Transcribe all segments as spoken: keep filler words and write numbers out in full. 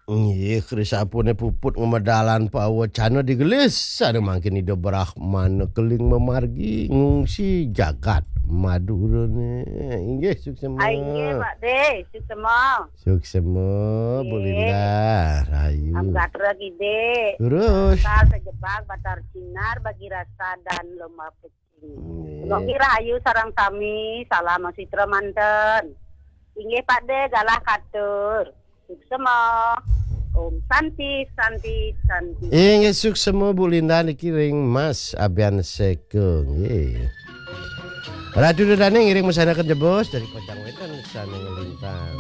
Nggih, Kris sapuné puput ngamedalan pawecana digelis, ada mangkin Ida Brahmana keling mamargi ngungsi jagat Madura né. Inggih, suksema. Ah, inggih, Pak Dé, suksema. Suksema, Bu Nggih. Linda, rahayu. Am gatra gidé. Terus. Batar sejebag, batar sinar, bagi rasa dan lomba pecing. Nggih. Mugi rahayu sareng sami, salam sitra manten. Inggih, Pak Dé, galah katur. Suksema. Om Santi, Santi, Santi. Inggih, suksema, Bu Linda, niki ring Mas Abian Seka, nggih. Ratu Dudane ngiring mesanaken jebos dari Pocang Wetan sane ngelintang.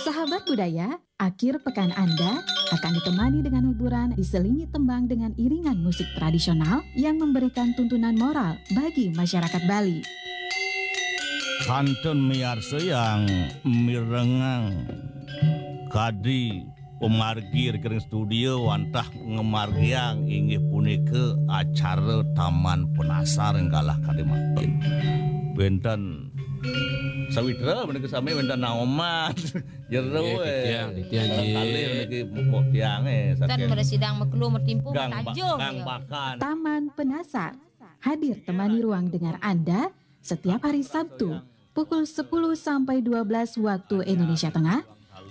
Sahabat budaya, akhir pekan Anda akan ditemani dengan hiburan diselingi tembang dengan iringan musik tradisional yang memberikan tuntunan moral bagi masyarakat Bali. Kantun miarsa yang mirengang kadi pamargi ring studio wantah ngamargiang inggih punika acara Taman Penasar ing galah kadi mangkin. Wenten sawitra menika sami wenten naoman jero, nggih, eh. Titiang, titiang, nggih. Kali niki mupuk tiange. Kan saking mresidang mekelu mertimpu gang ba-, matajung, gang ya. Bakan. Taman Penasar hadir temani ruang dengar Anda setiap hari Sabtu pukul sepuluh sampai dua belas waktu Indonesia Tengah,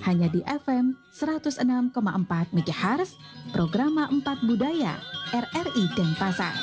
hanya di F M seratus enam koma empat megahertz, Programa empat Budaya, R R I Denpasar.